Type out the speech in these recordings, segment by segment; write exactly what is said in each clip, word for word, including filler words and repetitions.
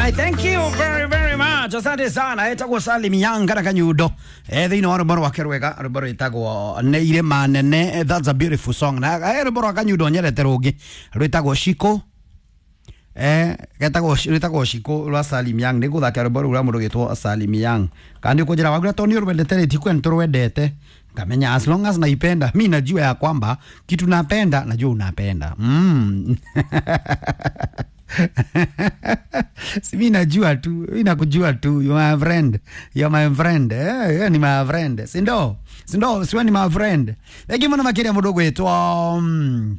Alright, thank you very very much. Asante sana. Etagwo Salim Yanga na Kanyundo. Eh thĩinĩ wa rwĩmbo rwake rwega, rwĩmbo rwĩtagwo Nĩ Irĩma Nene. That's a beautiful song. Na eh rwĩmbo rwa Kanyundo nyendete rũngĩ rwĩtagwo Shiko. Eh getagwo rwĩtagwo Shiko rwa Salim Yang. Nĩ gũthaka rwĩmbo rũu rwa mũndũ ũgĩtwo Salim Yang. Kana nĩ ũkũnjĩra wagura tondũ nĩ ũrwendete rĩ, ti kwenda tũrwendete. Ngamenya as long as naipenda, mi najua ya kwamba kitu napenda, najua unapenda. Mm. Si mi najua tu, mi nakujua tu, you my friend, you my friend, eh, eh, ni my friend. Si ndo, si ndo, siwe ni my friend. Thank muno makiria mundu gwitwo mm,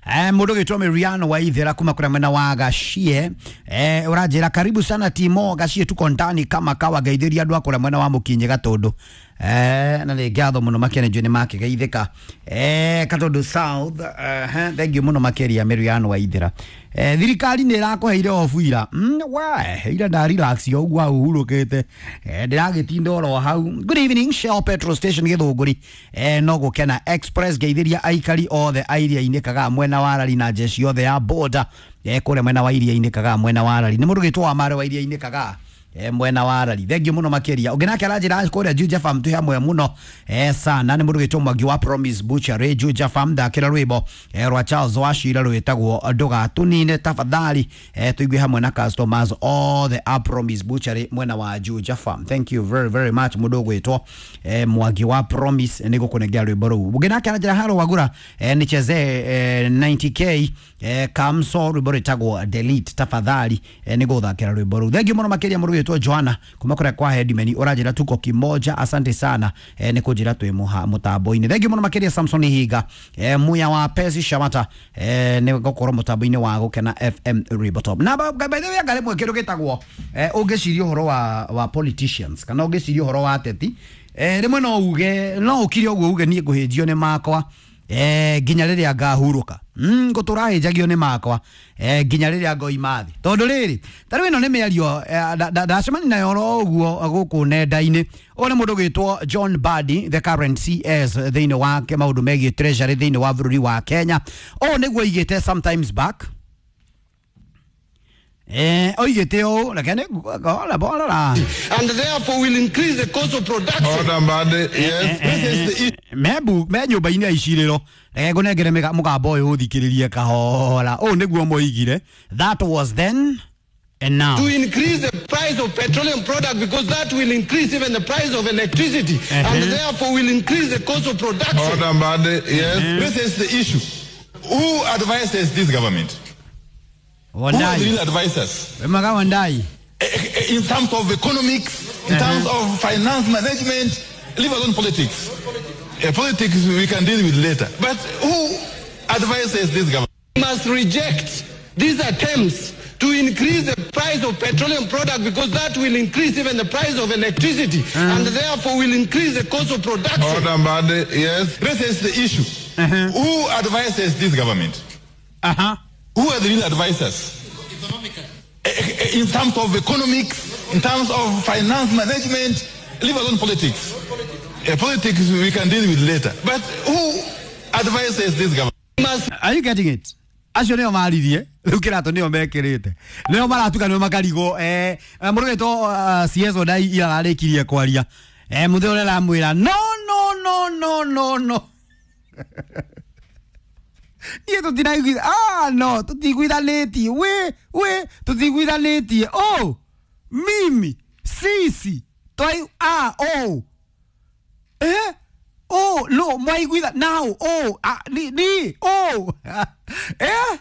Eh, mundu gwitwo Miriano wa Ithera kuma kuria mwena wa Gachie. Eh, uranjira karibu sana Timo Gachie, tuko ndani kama kawa geithiria andu akura mwena wa Mukinyi Gatundu. Eh, na nĩ ngatho mũno makĩria nĩ njũĩ nĩ makĩgeithĩka. Eh, Gatundu South. Eh, thank you mũno makĩria Miriano wa Ithera. Eh, thirikari nĩ ĩrakũheire obu ira. Mm, we, ira nda relax yo ũguo hau hurũkĩte. Eh, ndĩragĩtinda oro hau. Good evening Shell Petrol Station Gĩthũngũri. Eh, no gũkena Express geithiria aikari othe a iria-inĩ Kagaa mwena wa Rari na jeshi yothe ya border. Eh, kũrĩa mwena wa iria-inĩ Kagaa mwena wa Rari. Nĩ mũndũ gĩtwo wa Mare wa iria-inĩ Kagaa. Eh, mwena wa Rari. Thank you muno makiria. Ũngĩ aranjĩra kũrĩa Juja Farm twĩ hamwe mũno eh, sana. Nĩ mũndũ gĩtwo Mwangi wa Promise Butchery Juja Farm ndakĩra rwĩmbo eh, rwa Charles Wachira rwĩtagwo ndũgatũnine tafadhali. Eh, tũigue hamwe na customers othe a Promise Butchery mwena wa Juja Farm. Thank you very very much mũndũ ũgwĩtwo eh, Mwangi wa Promise nĩ gũkũnengera rwĩmbo rũu. Ũngĩ nake aranjĩra haro wagura eh, nichezee eh, ninety K eh, Kamso rwĩmbo rwĩtagwo delete tafadhali eh, nĩ gũthakĩra rwĩmbo rũu. Thank you mũno makĩria mũndũ ũgwĩtwo Joanna kuma kũrĩa kwa Headman ũranjĩra tuko kimoja, asante sana eh, nĩ kũnjĩra twĩ mũha mũtambo-inĩ. Thank you mũno makĩria Samson Higa eh, muya wa Pesi Shamata eh, nĩ gũkorwo mũtambo-inĩ wa Gũkena F M Rwĩmbo Top. Na by by the way anga rĩmwe kĩndũ gĩtagwo eh, ũngĩciria ũhoro wa, wa politicians kana ũngĩciria ũhoro wa ateti eh, rĩmwe no uge no ũkire ũguo uge niĩ ngũhĩnjio nĩ makwa eh, nginya rĩrĩa ngahurũka. Mm, ngũtũrahĩnjagio nĩ makwa eh, nginya rĩrĩa ngoima thĩ tondũ rĩrĩ ta rĩu ĩno nĩ mĩario ndacemania nayo oro ũguo gũkũ nenda-inĩ. Ũyũ nĩ mũndũ ũgwĩtwo John Mbadi, the current C S thĩinĩ wa maũndũ megiĩ treasury thĩinĩ wa bũrũri wa Kenya. Ũũ nĩguo oigĩte sometimes back. Eh, oigĩte ũũ, reke nĩ ngora bora. And therefore will increase the cost of production. Order, Mbadi. Yes, this is the issue. Mebu me nyũmba-inĩ ya icirĩro reke ngũnengere mũgambo ũyũ ũthikĩrĩrie kahora. Ũũ nĩguo moigire. That was then and now. To increase the price of petroleum product because that will increase even the price of electricity. Uh-huh. And therefore will increase the cost of production. Order, Mbadi. Yes, uh-huh. This is the issue. Who advises this government? Who are the real advisors? Wandai. In terms of economics, in terms of finance management, leave alone politics. Uh, politics we can deal with later. But who advises this government? We must reject these attempts to increase the price of petroleum product because that will increase even the price of electricity. Uh-huh. And therefore will increase the cost of production. Order, Mbadi. Yes, this is the issue. Uh-huh. Who advises this government? Uh-huh. Who are the real advisors? In terms of economics, in terms of finance management, leave alone politics. Uh, politics we can deal with later. But who advises this government? Are you getting it? Acio nĩo maririe rĩu kĩratũ nĩo mekĩrĩte nĩo maratuka nĩo makarigwo eh, mũndũ ũgwĩtwo C S Ondai ira ararĩkirie kwaria eh, mũthĩ ũrĩa aramwĩra no no no no no no niĩ tũtiraiguitha ah no tũtiguithanĩtie we we tũtiguithanĩtie oh mimi sisi twai ah oh eh oh no mwaiguitha now oh ah, ni ni oh eh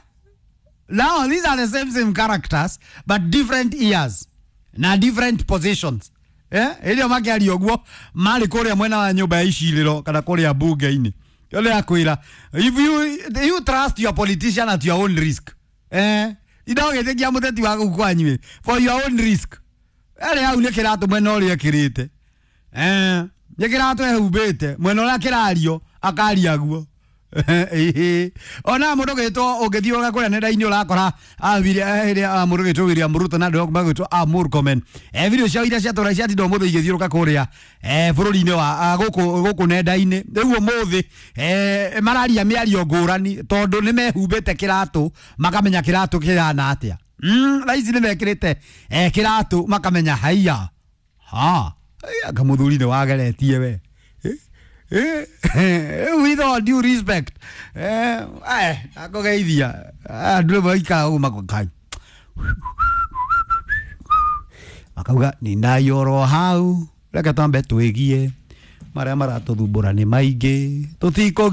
now these are the same same characters but different ears na different positions eh ĩrĩa makĩaria ũguo marĩ kũrĩa mwena wa nyũmba ya icirĩro kana kũrĩa bunge-inĩ. If you you trust your politician at your own risk, eh? Indogĩtĩkia mũteti waku kwanyu for your own risk. Arĩ hau nĩ kĩratũ mwena ũrĩa ekĩrĩte, eh? Nĩ kĩratũ ehumbĩte mwena ũrĩa kĩrario akaria guo. Ona mũndũ ũgĩtwo ũngĩthiĩ ũgakũrĩa nenda-inĩ ũrakora mũndũ ũgĩtwo William Ruto na andũ magwĩtwo a Murkomen eh, video ciao iria ciatũra ciatinda ũmũthĩ igĩthiũrũka kũrĩa eh, bũrũri-inĩ wa gũkũ gũkũ nenda-inĩ rĩu ũmũthĩ eh, mararia mĩario ngũrani tondũ nĩ mehumbĩte kĩratũ makamenya kĩratũ kĩhana atĩa. Mm, thaa ici nĩ mekĩrĩte eh, kĩratũ makamenya haiya ha anga mũthuri nĩ wageretie we. Eh, eh, with all due respect, eh, eh, akũgeithia andũ rĩmwe maikaraga ũguo makokai makauga nindaiyorwo hau, reke twambe twĩgie marĩa maratũthumbũra nĩ maingĩ tũtikũ.